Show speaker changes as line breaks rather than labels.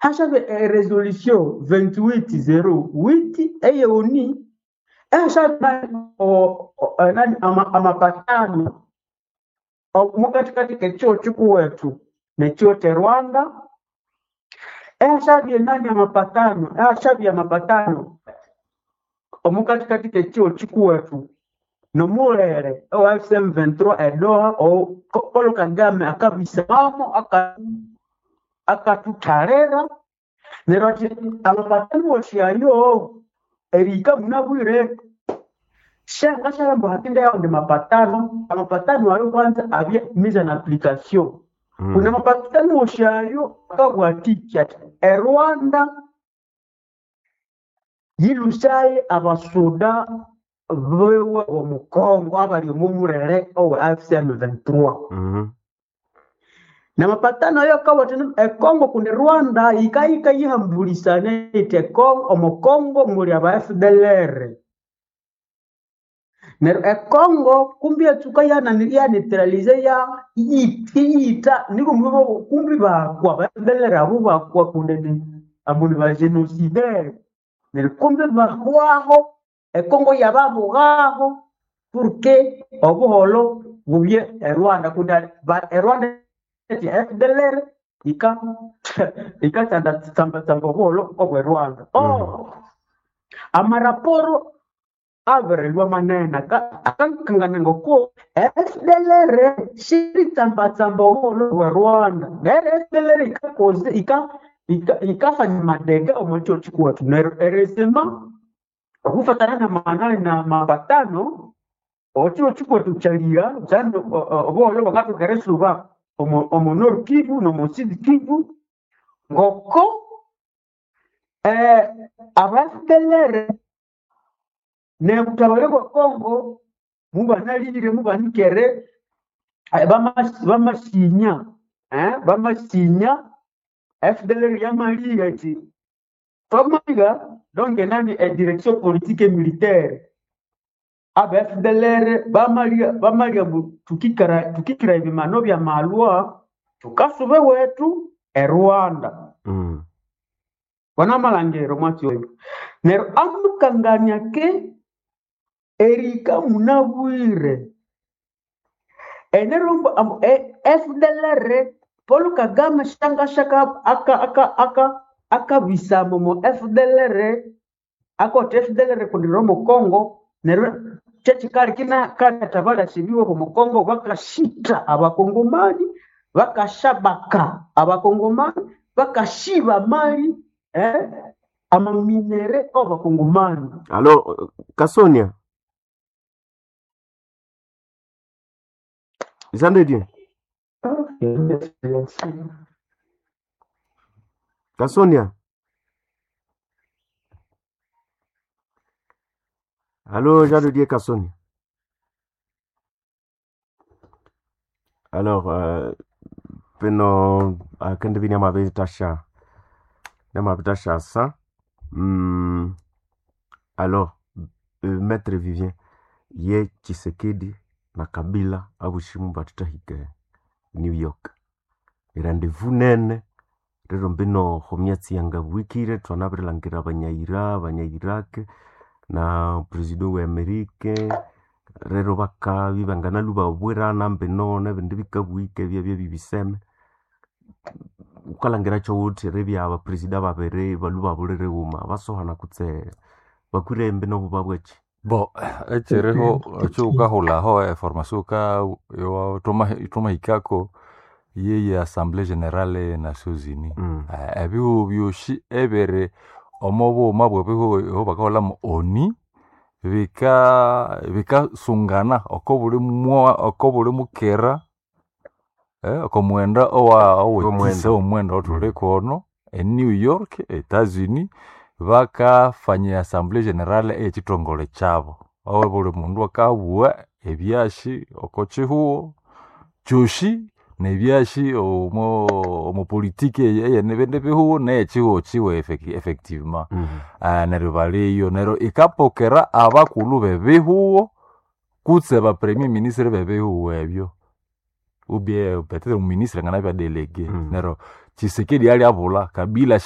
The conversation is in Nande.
Hashabe resolution 2808 eye ONU ehashabe nani amapatano mukatikati kekyo kikuwethu nekyo Rwanda. Ehashabye nani amapatano, ehashabye amapatano omukatikati kekyo kikuwethu nomulere owa M23 edoha Paul Kagame akabisamo akatuthalira neryo athi amapatano wosi ayo erihika munabwire shangashalambo hakinde yawandi mapatano. Amapatano ayo kwanza abye mise en application. Kuna mapatano wosi ayo akabwatiki ati eRwanda yilusaye abasuda bewe omukongo abali omumulere owe AFC M23. Namapatano ayo akabwati ekongo kundi Rwanda yikayika yihambulisana iti ekongo omukongo muli aba FDLR. Neryo ekongo kumbi yatsuka yaneutralize ya iyita niko kumbi bakwa aba FDLR abo bakwa kundi ambu ni ba génocidaire. Neryo kumbi bahwaho ekongo yababughaho porque obuholo bubye eRwanda kundi eRwanda eti FDLR ika ikatsamba obuholo obwe Rwanda. Oh, amaraporo abirilwa manene akakangana ngoko FDLR shiritsambatsamba obuholo bwe Rwanda. Neryo FDLR ikakoze ikafanya madega omu kyo kikuwethu. Neryo erisima okufatana na manani na mapatano okiro kikuwethu kyalira kyandi obuholo bwakathoka erisuba omu Nord Kivu n'omu Sud Kivu ngoko aba FDLR nebutabare bwa Congo mubanalire mubanikere bamasinya bamasinya FDLR yamaliga ati twamaliga donc nani direction politique et militaire aba FDLR bamaliga bamaliga tukikara tukikira ebimano bya malwa tukasube wetu eRwanda. Wanamalangero mwatsi oyo neryo amukangania ke erika munabwire enerombo FDLR Paul Kagame shangashaka aka aka aka akabisamo mo FDLR akote FDLR kundi romo Congo neryo kyekikali kina katabalasibiwe omu Congo bakashita abakongomani bakashabaka abakongomani bakashiba mali amaminere abakongomani.
Alors Kasonia Jean de Dieu. Kasonia. Allô, Jean de Dieu Kasonia. Alors, peno akende bini amabetasha. Namabetasha sa. Alors, Maître Vivien, ye Tshisekedi na Kabila abushimu batutahike New York. Rendezvous nene rero mbino homyatsi yanga bwikire twanabirilangirira abanyaira abanya-Iraq na president we Amerika rero bakabi bangana lubabwirana mbino nebindi bikabwike byabya bibiseme ukalangira kyowuthi ribya abapresida babiri balu babulire wuma basohana kutse bakwire mbino buba bweki.
Bo, ekiriho ekyukahulhaho eformation thwamahikako yeye Assemblée Générale e Nations Unies. Ebihugu byosi ebiri omo bughuma bwebihugu eho bakahulhamu ONU bikasungana oko buli mukera oko mughenda owetisa omughenda owathuli kono e New York, Etats Unis bakafanya Assemblée Générale eyekithongole kyabo. Aho buli mundu akabugha ebyasi oko kihugho kyosi nebyasi omo politiki eyebindi bihugho neyekihugho kiwe effectivement. Neryo baliyo neryo ikapokera abakulhu bebihugho kutse ba premier ministre bebihugho ebyo ou bien peut-être omuministre anganabya delege. Neryo Tshisekedi alyabulha, Kabila.